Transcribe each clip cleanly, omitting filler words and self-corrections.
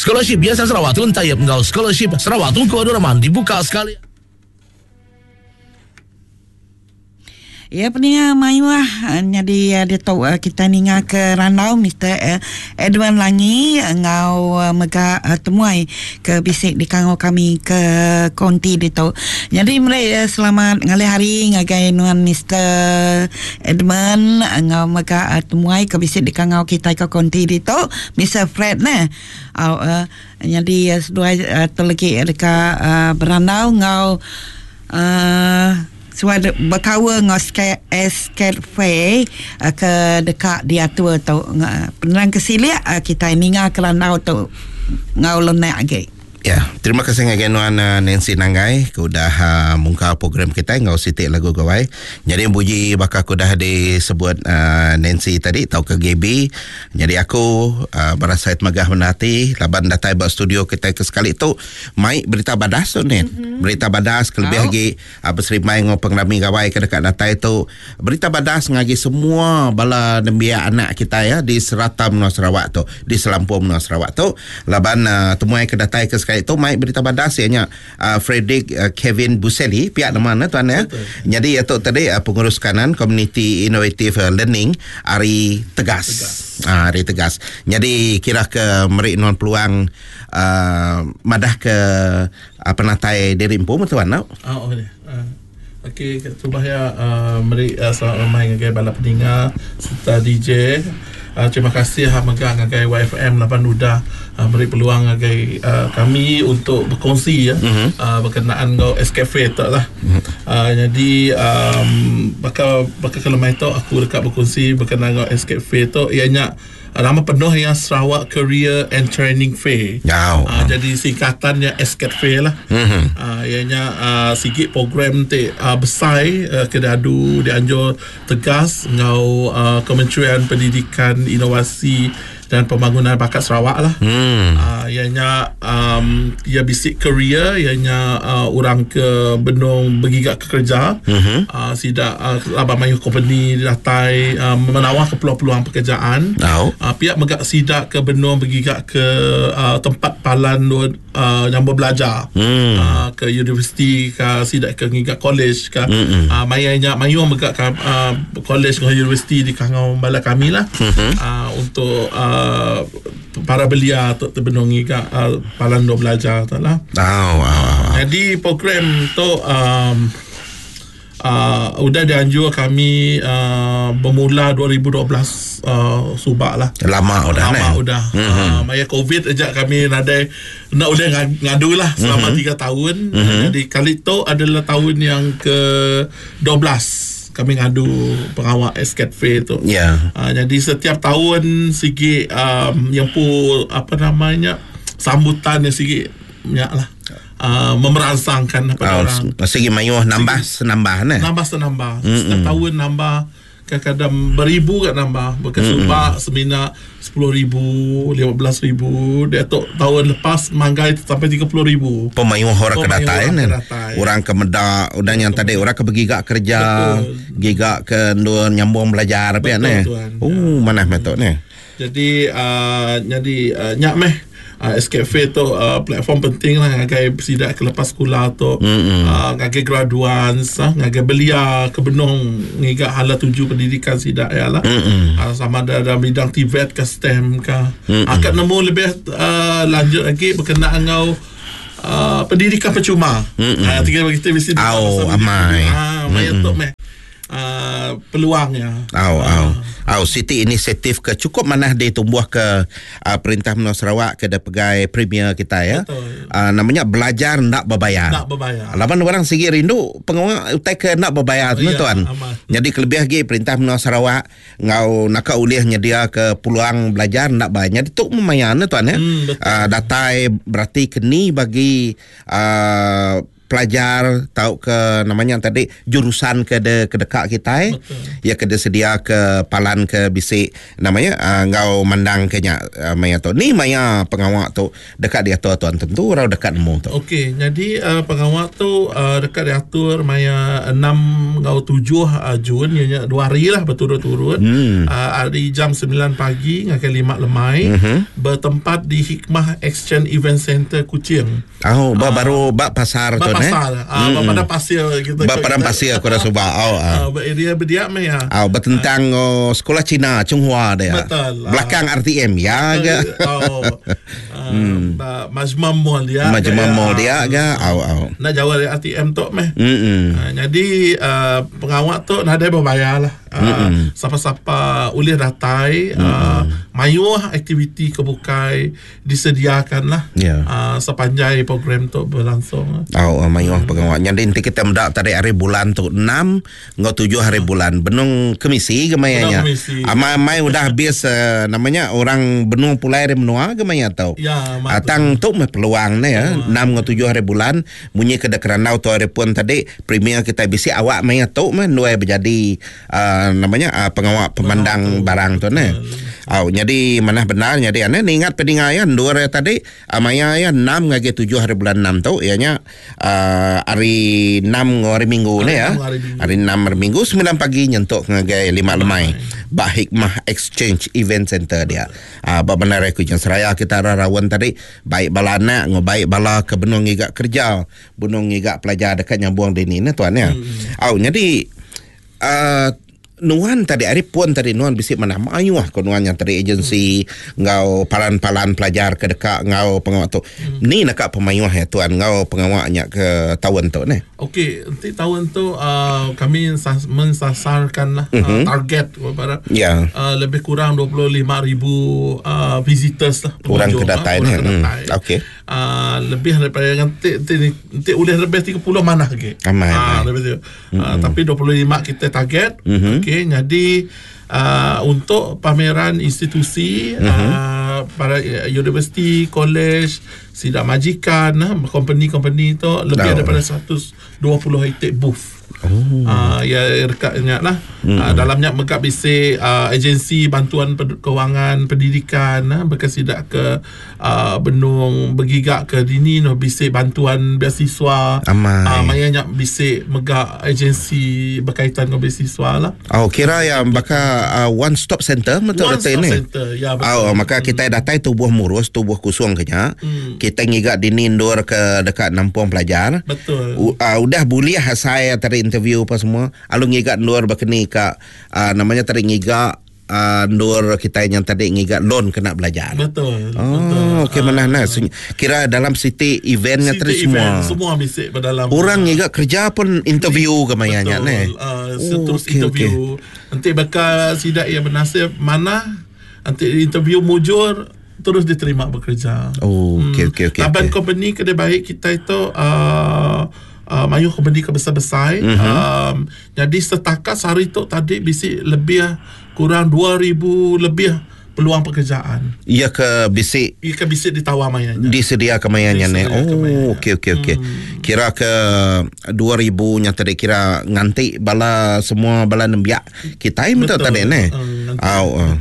Scholarship Yayasan Sarawak Tun Taib enggau Scholarship Sarawak Tunku Abdul Rahman dibuka sekali. Iya peninga mayuh nyadi ditu kitai ninga ke randau Mister Edwin Langi enggau mega temuai ke bisi dikangau kami ke konti ditu. Nyadi meri selamat ngalih hari ngagai nuan Mister Edmund enggau mega temuai ke bisi dikangau kitai ke konti ditu Mister Fred neh. Au nyadi seduai tu legi deka berandau enggau uhh Suah bekaul enggau SCATFE ke deka diatur tu. Penerang ke silik kitai ninga ke randau tu enggau lenak agi. Ya, terima kasih ngagai nuan Nancy Nanggai ke udah mungkal program kitai enggau siti lagu gawai. Nyadi buji baka ke udah disebut Nancy tadi tauka Gaby. Nyadi aku berasai temegah bendar ati laban datai ba studio kitai ke sekali tu mai berita badas tu nin. Berita badas kelebih agi Beserimbai enggau pengerami gawai ke deka datai tu, berita badas ngagi semua bala nembiak anak kitai ya di serata menua Sarawak tu, di selampur menua Sarawak tu laban temuai ke datai ke sekali tu mai berita badas iya nya Frederick Kevin Buseli pia nama ne tuan ya. Nyadi iya tu tadi pengurus kanan Community Innovative Learning ari Tegas. Ari Tegas. Nyadi kira ke meri nuan peluang madah ke Penatai diri empu meh tuan tau. Oh okey. Okey terubah iya meri selamat lemai ngagai bala peninga sereta DJ. Terima kasih mega ngagai YFM laban udah meri peluang ngagai kami untuk berkongsi ya berkenaan enggau SCafe tu lah. Nyadi baka baka ke lemai tu aku deka berkongsi berkenaan enggau SCafe tu iya nya Nama penuh iya Sarawak Career and Training Fair. Au. Uh, jadi singkatan nya SCAT Fair lah. Mm-hmm. Uh, iya nya uh, sigi program ti uh, besai uh, ke diadu dianjur tegas enggau uh, Kementerian Pendidikan, Inovasi dan Pembangunan Bakat Sarawak lah. Mm. Uh, iya nya um, iya bisi career iya nya uh, orang ke benung begiga ke kereja. Mm-hmm. Uh, sida uh, laban mayuh kompeni datai uh, menawar ke peluang-peluang pekerjaan. Au. Uh, pia mega sida ke benung begiga ke uh, tempat palan uh, nyambung belajar. Mm. Uh, ke universiti ke sida ke ngiga college ke. Mm-mm. Uh, maya nya mayuh mega ke uh, college enggau universiti dikangau bala kami lah. Mm-hmm. Uh, untuk uh, para belia tu benung ngiga uh, palan endur belajar tu lah. Au, au, au. Jadi program tu um, uh, udah dianjur kami uh, bermula 2012 uh, subak lah. Lama udah Lama ne. udah. Mm-hmm. Uh, maya COVID aja kami nadai nak udah ngadu lah selama Mm-hmm. 3 tahun. Mm-hmm. Jadi kali tu adalah tahun yang ke 12 kami ngadu pengawal SCAT Fair tu. Ya. Yeah. Jadi setiap tahun sigi um, yang pu apa namanya sambutan yang sigi nyak lah. Memerangsangkan pada Oh, orang. sigi mayuh nambah senambah ne. Nambah senambah. Mm-hmm. Setiap tahun nambah kadang-kadang beribu kat nambah. Bukan mm-hmm. subak semina 10,000, 15,000. Dia tu tahun lepas manggai sampai 30,000. Pemayuh orang ke Pemayuh datai orang ne. ke datai. Orang ke meda udah yang tadi orang ke begiga kerja, Betul. giga ke endur nyambung belajar pia Betul, ne. tuan. Oh, manah meh tu ne. Jadi jadi nyak meh SCATFE tu platform penting lah ngagai sida ke lepas sekolah tu Mm-mm. Ngagai graduans ngagai belia ke benung ngiga hala tuju pendidikan sida ya lah Mm-mm. Sama ada dalam bidang TVET ke STEM ke akan nemu lebih lanjut lagi berkenaan enggau pendidikan percuma. Tiga kita mesti Au, amai. Maya tu meh peluangnya. Au, au. Au, siti inisiatif ke cukup manah ditumbuh ke perintah menua Sarawak ke da pegai premier kita ya. Betul. Namanya belajar ndak berbayar. Ndak berbayar. Laban orang sigi rindu pengawa utai ke ndak berbayar tu Ya, tuan. amat. Jadi kelebih lagi perintah menua Sarawak ngau naka ulih nyedia ke peluang belajar ndak bayar. Jadi tu memayan tuan ya. Betul. Datai berarti keni bagi. pelajar tauka nama nya tadi jurusan ke de ke deka kitai ya ke disedia ke palan ke bisi nama nya uh, enggau mandang ke nya uh, maya tu. Ni maya pengawa tu deka diatur tuan tentu orang deka nemu tu. Okey, jadi uh, pengawa tu uh, deka diatur maya 6 enggau 7 uh, Jun iya nya dua hari lah berturut-turut. Hmm. Uh, hari jam 9 pagi ngagai 5 lemai mm-hmm. bertempat di Hikmah Exchange Event Center Kuching. Oh, ba uh, baru ba pasar ba tu pasar. Ne? Uh, mm. Ba padang pasir gitu. Ba padang pasir aku dah suba. Oh, uh. Uh, ba area berdiak meh ya. Oh, bertentang uh. oh, sekolah Cina Chunghua dia. Betul. Belakang uh. RTM ya ke. Oh. Hmm. Majma Mall dia. Majma Mall dia ke. Au au. Nak jauh dari RTM tu meh. Hmm. Uh, jadi uh, pengawak tu nadai berbayar lah. Uh, Siapa-siapa boleh datai uh, mayuh aktiviti kebukai disediakan lah. Yeah. Uh, sepanjai program tu berlangsung. Au oh, mayuh hmm. pengawak. Jadi nanti kita mendak tadi hari bulan tu 6 Enggau tujuh hari bulan benung kemisi ke maya nya. Amai-amai udah habis uh, namanya orang benung pulai ari menua ke maya tu. Ya, uh, tang tu meh peluang ne ya. Enam enggau tujuh hari bulan munyi ke kerandau tu hari pun tadi premier kita bisi awak maya tu meh nuai berjadi uh, namanya uh, pengawa pemandang barang tu ne. Au jadi manah benar jadi ane ni ingat peninga ya endur ya tadi uh, maya ya enam ngagai tujuh hari bulan enam tu ya nya uh, hari 6 enggau hari Minggu ni ya. Hari 6 hari Minggu 9 pagi nyentuk ngagai 5 lemai ba Hikmah Exchange Event Center dia. Uh, ba bandar aku jeung seraya kita ra raun tadi baik bala anak enggau baik bala ke benung ngiga kerja, benung ngiga pelajar dekat nyambung dini ne tuan ya. Hmm. Au jadi uh, Nuan tadi ari pun tadi nuan bisi manah mayuh ko nuan nya tadi agensi enggau palan-palan pelajar ke deka enggau pengawa tu. Ni naka pemayuh ya tuan enggau pengawa nya ke taun tu neh. Okey, enti taun tu uh, kami mensasarkan lah uh, target kepada Ya. uh, lebih kurang 25,000 uh, visitors lah Orang ke pengunjung, datai ah, neh. orang ke Hmm. datai. Okey. Uh, lebih daripada nanti nanti nanti boleh lebih 30 mana lagi. Amai, Ah, amai. lebih tu. Uh, tapi 25 kita target. Mm-hmm. Okey, jadi uh, untuk pameran institusi mm-hmm. uh, para universiti, college, sidak majikan, ah, company-company tu lebih Oh. daripada 120 itik booth. Oh. Uh, ya dekatnya lah. Mm. Uh, dalamnya megak bisi uh, agensi bantuan kewangan pendidikan uh, berkesidak ke uh, benung bergigak ke dini no bisi bantuan beasiswa. Amai. Uh, mayanya bisi megak agensi berkaitan dengan beasiswa lah. Oh kira yang baka uh, one stop center betul One betul stop ni. center, ya, betul. Oh, maka kita datai tubuh murus, tubuh kusung kenya. Kita ngiga dini ndur ke dekat nampung pelajar. Betul. U, uh, udah boleh saya tadi interview apa semua. Alu ngiga ndur berkeni ka uh, namanya tadi ngiga uh, ndur kita yang tadi ngiga loan kena belajar. Betul. Oh, okey mana nah. Kira dalam city eventnya City tadi semua. event, semua bisik berdalam. Orang ngiga kerja pun interview ke mayanya Betul. ne. Uh, terus okey, interview. okey. Nanti bakal sidak yang bernasib mana nanti interview mujur terus diterima bekerja. Oh, okey, okey, okey, Laban okey. company kedai baik kita itu uh, uh, mayu company ke besar-besar. Mhm. Mm-hmm. Um, jadi setakat sehari tu tadi bisi lebih kurang 2000 lebih peluang pekerjaan. Ia ke bisik Ia ke bisi ditawar mayanya. Disedia kemayanya ni. Disedia kemayanya. Oh, okey okey okey. Kira ke 2000 nya tadi kira nganti bala semua bala nembiak kita betul Betul. tadi ni. Nganti. Au. Uh.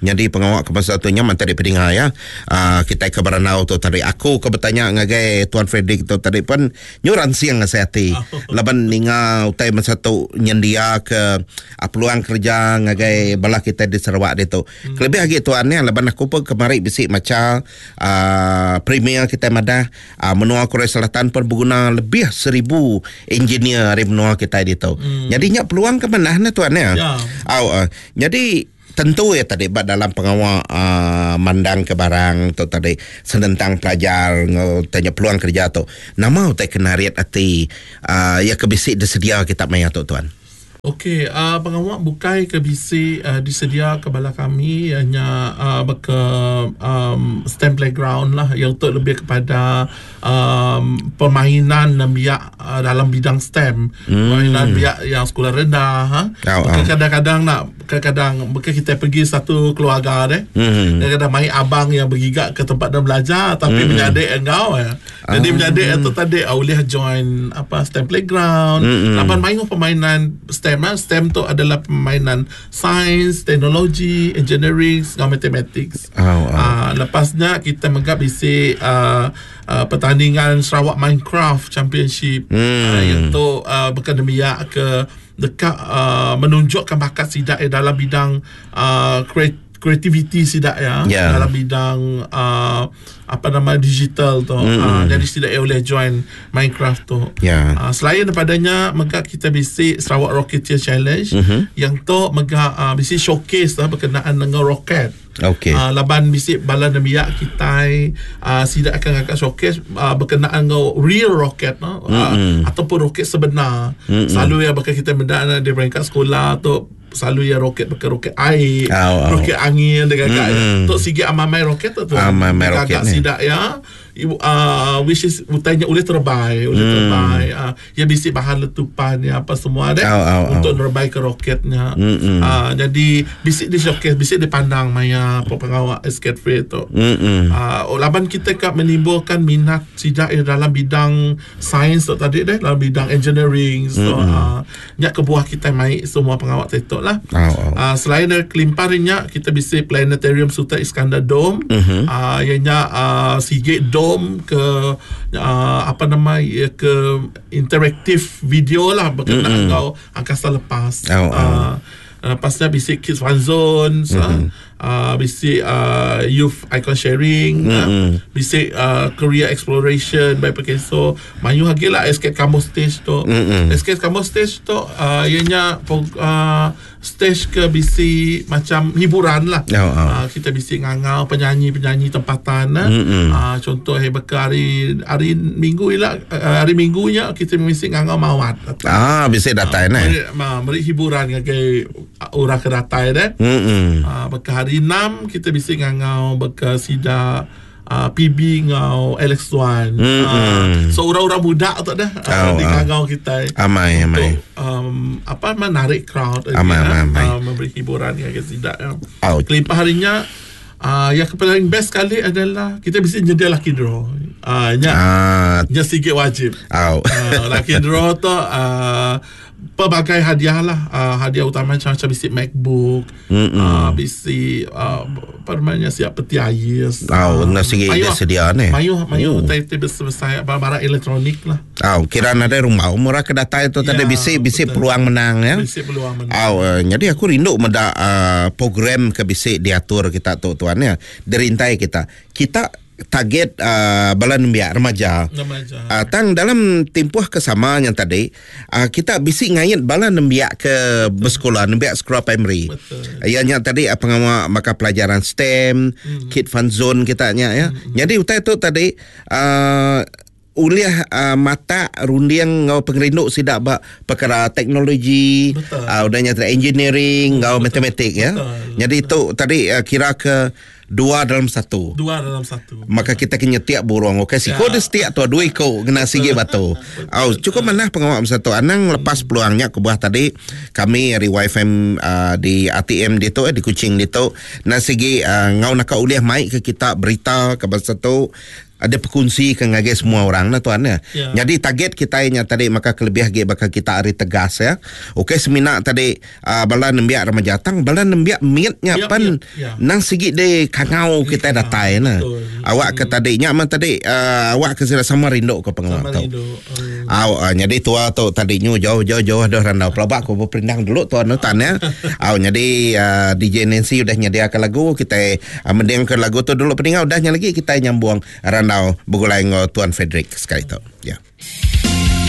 Jadi pengawak ke pasal tu nyaman tadi pedinga ya. Uh, kita ke Beranau tu tadi. Aku ke bertanya ngagai Tuan Frederick tu tadi pun nyuran siang ngasih hati. Laban ninga utai masa tu nyendia ke uh, peluang kerja ngagai bala kita di Sarawak dia tu. Kelebih lagi tuan ni laban aku pun kemari bisik macam uh, premier kita madah uh, menua Korea Selatan pun berguna lebih 1000 engineer dari menua kita dia tu. Jadi nyak peluang ke mana ni tuan ya? Ya. Au, uh, jadi tentu ya tadi bak dalam pengawal uh, mandang ke barang tu tadi senentang pelajar ngau tanya peluang kerja tu. Nama utai kena riat ati uh, ya ke bisik disedia kita maya tu tuan. Okey, uh, pengawa bukai ke bisi uh, disedia ke bala kami ianya uh, baka um, STEM playground lah yang tu lebih kepada um, permainan nembiak uh, dalam bidang STEM. Hmm. Permainan nembiak yang sekolah rendah ha. Oh, oh. Kadang-kadang nak kadang-kadang mungkin kita pergi satu keluarga deh. Hmm. Kadang-kadang main abang yang bergigak ke tempat dia belajar tapi hmm. menyadik engkau ya. Jadi ah. menyadik itu tadi ah, boleh join apa STEM playground. Laban main permainan STEM ah. STEM tu adalah permainan sains, teknologi, engineering, dengan mathematics. Oh, oh. Ah, lepasnya kita megap bisi uh, uh, pertandingan Sarawak Minecraft Championship. Uh, iaitu uh, berkendemiak ke dekat uh, menunjukkan bakat sidak eh, dalam bidang uh, kreativiti sidak ya yeah. dalam bidang uh, apa nama digital tu mm-hmm. uh, jadi sidak eh, boleh join Minecraft tu yeah. uh, selain daripadanya mega kita bisi Sarawak Rocketeer Challenge mm-hmm. yang tu mega uh, bisi showcase lah berkenaan dengan roket. Okey. Uh, laban bisi bala nembiak kita uh, sidak akan ngangkat showcase uh, berkenaan dengan real roket no? uh, mm-hmm. ataupun roket sebenar. Mm-hmm. Selalu ya bakal kita benda di peringkat sekolah tu selalu ya roket pakai roket air, oh, oh. roket angin dengan mm-hmm. Tok sigi amamai roket tu tu. Amamai roket ni. Sidak ya. Uh, which is utainya boleh terbai, boleh mm. terbai. Uh, ya bisi bahan letupan ya apa semua deh oh, oh, untuk oh. nerbai ke roketnya. Mm-hmm. Uh, jadi bisi di showcase, bisi dipandang maya pengawal escape free tu. Mm-hmm. Uh, laban kita kak menimbulkan minat sidak ya dalam bidang sains tu tadi deh, dalam bidang engineering. So mm-hmm. uh, nyak kebuah kita mai semua pengawal tu lah. Oh, oh. Uh, selain dari kelimparinya kita bisi planetarium Sultan Iskandar Dome. Mm-hmm. Uh, ianya uh, sige dome ke uh, apa nama ya, ke interaktif video lah berkenaan mm-hmm. kau angkasa lepas. Oh, oh. Uh, lepasnya bisi Kids Fun Zone, mm-hmm. uh, bisi uh, Youth Icon Sharing, mm-hmm. uh, bisi uh, Career Exploration by Perkeso. Mayu lagi lah Escape Kamu Stage tu. Mm-hmm. Escape Kamu Stage tu uh, ianya uh, stage ke bisi macam hiburan lah. Oh, oh. Uh, kita bisi ngangau penyanyi-penyanyi tempatan. Mm-hmm. Uh, contoh hey, bekal hari hari minggu lah, uh, hari minggunya kita bisi ngangau mawat. Ah, bisi datai uh, ne. Meri hiburan ngagai orang ke datai deh. Mm-hmm. Uh, bekal hari 6 kita bisi ngangau bekal sida uh, PB ngau Alex Wan. Mm-hmm. Uh, so orang-orang muda tu dah uh, Oh, di oh. ngangau kita. Amai, amai. Untuk, um, apa menarik crowd Amai, ya, amai, amai. Uh, memberi hiburan yang sida. Ya. Oh. Kelimpah harinya uh, yang paling best sekali adalah kita bisa nyedia lucky draw. Uh, nya Ah, nya sikit wajib. oh. Uh, lucky draw tu uh, pelbagai hadiah lah. Uh, hadiah utama macam-macam bisi MacBook, uh, bisi uh, apa namanya siap peti ais. Oh, nak sikit dia sedia ni. Mayuh, mayuh Oh. utai utai besar-besar barang elektronik lah. Oh, kira ada rumah umur ke datai tu tadi Ya, bisi bisi betul. peluang menang ya. Bisi peluang menang. Oh, uh, jadi aku rindu meda uh, program ke bisi diatur kita tu tuan ya. Derintai kita. Kita target uh, bala nembiak remaja. Remaja. Uh, tang dalam tempoh kesamaan yang tadi uh, kita bisi ngait bala nembiak ke bersekolah, nembiak sekolah primary. Betul. Uh, yang tadi uh, pengawal maka pelajaran STEM, mm-hmm. Kid Fun Zone kita nya ya. Mm-hmm. Jadi utai tu tadi uh, uliah uh, mata runding ngau pengerindu sidak ba perkara teknologi Betul. uh, udahnya tadi engineering ngau matematik ya. Betul. Jadi itu tadi uh, kira ke dua dalam satu. Dua dalam satu. Maka kita kena tiap burung. Okey, siko Ya. dia setiap tu dua ekor kena sigi batu. Au, cukup manah pengawal satu. Anang lepas peluangnya ke buah tadi kami dari YFM uh, di ATM di tu eh, di Kuching di tu na sigi uh, ngau nak uliah mic ke kita berita ke bangsa tu ada perkongsi ke ngagai semua orang lah tuan ya. Ya. Jadi target kita nya tadi maka kelebih lagi bakal kita hari tegas ya. Okey semina tadi uh, bala nembiak remaja tang bala nembiak miatnya Ya, pan ya, ya. nang sigi de kangau kita datai nah. Betul. Awak ke tadi nya man tadi uh, awak ke sila sama rindu ke pengawal Sama tu. rindu. Hmm. Aw, uh, jadi tua tu tadi nyu jauh jauh jauh dah randau pelabak aku berperindang dulu tuan tuan ya. Aw, jadi uh, DJ Nancy udah nyediakan lagu kita uh, mendingkan lagu tu dulu peninggal udahnya lagi kita nyambung randau bergulai dengan Tuan Frederick sekali tu. Ya. Yeah.